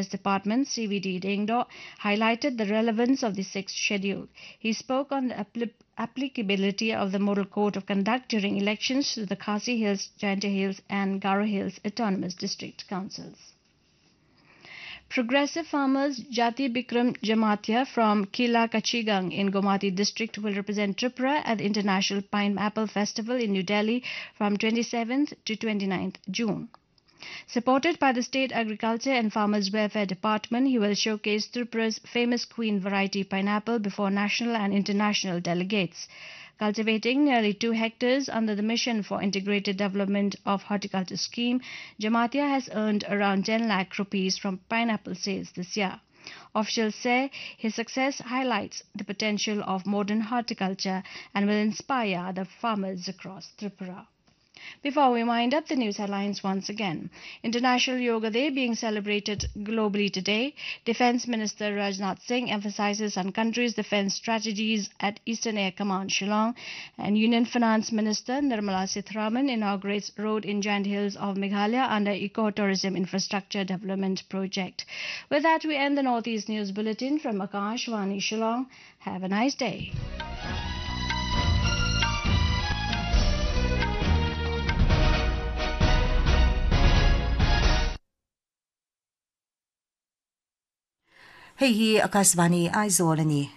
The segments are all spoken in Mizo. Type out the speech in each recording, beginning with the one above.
Department CVD Dengdo highlighted the relevance of the sixth schedule. He spoke on the applicability of the Model Code of Conduct during elections to the Khasi Hills, Jaintia Hills and Garo Hills Autonomous District Councils. Progressive farmers Jati Bikram Jamatia from Kila Kachigang in Gomati district will represent Tripura at the International Pineapple Festival in New Delhi from 27th to 29th June. Supported by the State Agriculture and Farmers Welfare Department, he will showcase Tripura's famous queen variety pineapple before national and international delegates. Cultivating nearly 2 hectares under the Mission for Integrated Development of Horticulture scheme, Jamatia has earned around 10 lakh rupees from pineapple sales this year. Officials say his success highlights the potential of modern horticulture and will inspire other farmers across Tripura. Before we wind up, the news headlines once again. International Yoga Day being celebrated globally today. Defense Minister Rajnath Singh emphasizes on country's defense strategies at Eastern Air Command Shillong. And Union Finance Minister Nirmala Sitharaman inaugurates road in Giant Hills of Meghalaya under Eco-Tourism Infrastructure Development Project. With that, we end the Northeast News Bulletin from Akashvani Shillong. Have a nice day. Hei hi Akashvani Aizawl ani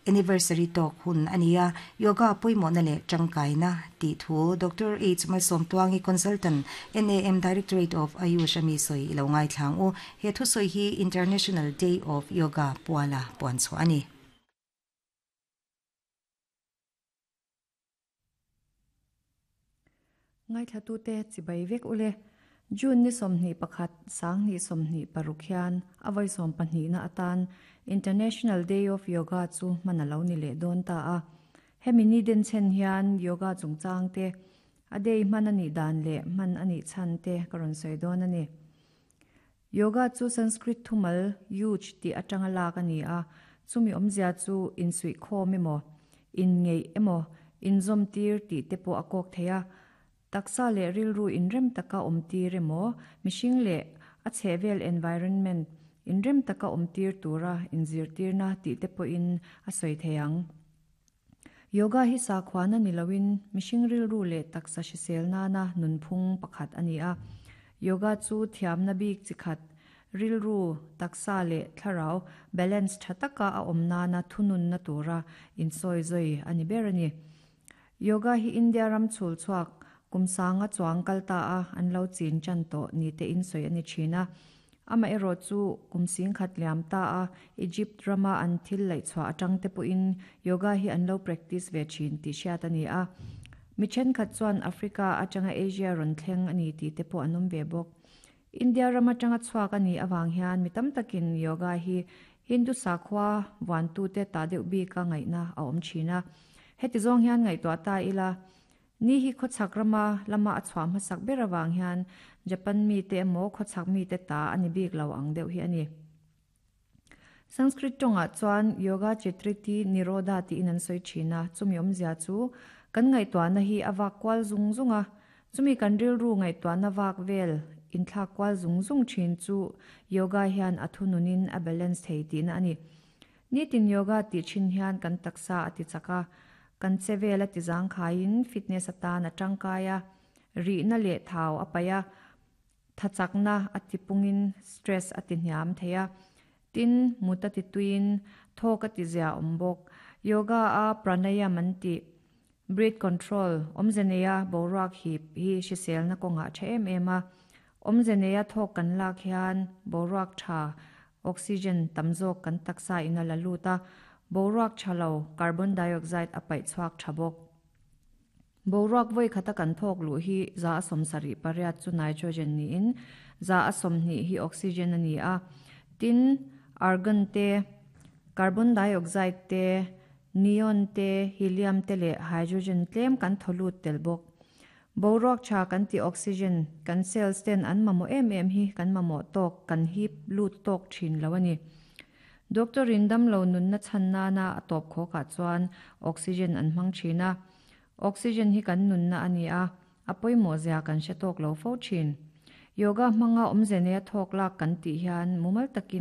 anniversary talk hun ania yoga poimo na le tangkaina ti thu Dr. H Malsawmtluangi consultant NAM Directorate of Ayush ami soi ilo ngai thlang u he thu soi hi International Day of Yoga puala puan chu ani. Ngai thlatu te chibai vek ule. June ni 21 2026 hian a vawi 12 na atan International Day of Yoga chu hman a lo ni leh dawn ta a. Hemi ni den chhen hian yoga chungchang te, a day hman a nih dan leh hman a nih chhan te ka rawn sawi dawn a ni. Yoga chu Sanskrit thumal yuj tih atanga lak a ni a, chumi awmzia chu insuihkhawm emaw, inngeih emaw, inzawmtir tih te pawh a kawk thei a. Taksa leh rilru inrem taka awmtir emaw, mihring leh a chhehvel environment inrem taka awmtir tura inzirtirna tih te pawhin a sawi thei ang. Yoga hi sakhuana ni loin mihring rilru leh taksa hrisel nana nunphung pakhat a ni a. Yoga chu thiamna bik chi khat, rilru, taksa leh thlarau balance tha taka a awm nana thununna tura insawizawi a ni ber a ni. Yoga hi India ram chhul chhuak kum sanga chuang kal ta a an lo chin tan tawh ni te in sawi a ni thin a. Amaherawh chu kum sing khat liam ta a Egypt rama an thil laih chhuah atang te pawhin yoga hi an lo practice ve thin tih hriat a ni a. Mi thenkhat chuan Africa atanga Asia rawn thleng a ni tih te pawh an awm ve bawk. India ram atanga chhuak a nih avang hian mi tam takin yoga hi Hindu sakhua vuantute ta deuh bika ngaihna a awm thin a. Heti zawng hian ngaihtuah ta ila, ni hi khawchhak rama lama a chhuah hmasak ber avang hian Japan mite emaw khawchhak mite ta a ni bik lo ang deuh hi a ni. Sanskrit tawngah chuan Yoga Chitriti Nirodha tiin an sawi thin a, chumi awmzia chu kan ngaihtuahna hi a vak kual zung zung a, chumi kan rilru ngaihtuahna vak vel inthlak kual zung zung thin chu yoga hian a thununin a balance thei tihna a ni. Nitin yoga tih thin hian kan taksa a ti chak a, kan che vel a ti zangkhaiin fitness atan a tangkai a, rihna leh thau a paih a, Thachakna a ti pungin stress a ti hniam thei a, tin mut a ti tuiin thawk a ti zia awm bawk. Yoga a pranayam an tih, breath control, awmze neia boruak hip hi hriselna kawngah a tha em em a. Awmze neia thawk kan lak hian boruak tha, oxygen, tam zawk kan taksa in a la lut a, boruak tha lo, carbon dioxide, a paih chhuak tha bawk. Boruak vawi khata kan thawk luh hi 78% chu nitrogen niin 20% hi oxygen a ni a. Tin, argon te, carbon dioxide te, neon te, helium te leh hydrogen tlem kan thaw lut tel bawk. Boruak tha kan tih oxygen kan cells ten an mamawh em em hi kan mamawh tawk kan hip lut tawk thin lo a ni. Doctor in damlo nunna chhan nana a tawp khawkah chuan oxygen an hmang thin a. Oxygen hi kan nunna a ni a, a pawimawh zia kan hre tawk lo fo thin. Yoga hmanga awmze neia thawk lak kan tih hian mumal takin.